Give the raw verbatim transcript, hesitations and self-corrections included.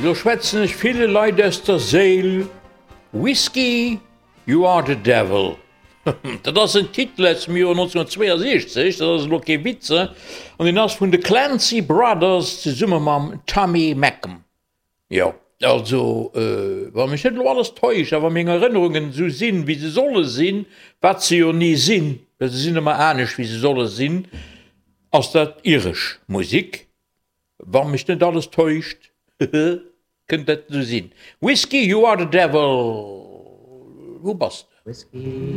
Lo schwätzen ech ville Leit aus der Séil, Whiskey, you are the devil. Dat ass en Titel aus dem Joer nonzénhunnertzweeasiechzeg, dat ass elo kee Witz, an deen ass vun de Clancy Brothers zesumme mam Tommy Makem. Jo, also wa mech net elo alles täuscht a wa meng Erënnerungen esou sinn, wéi se solle sinn, wat se jo ni sinn, well se sinn ëmmer anescht, wéi se solle sinn, ass dat iresch Musik. Wa mech net alles täuscht, kënnt dat esou sinn. Whiskey, you are the devil, wou bass de?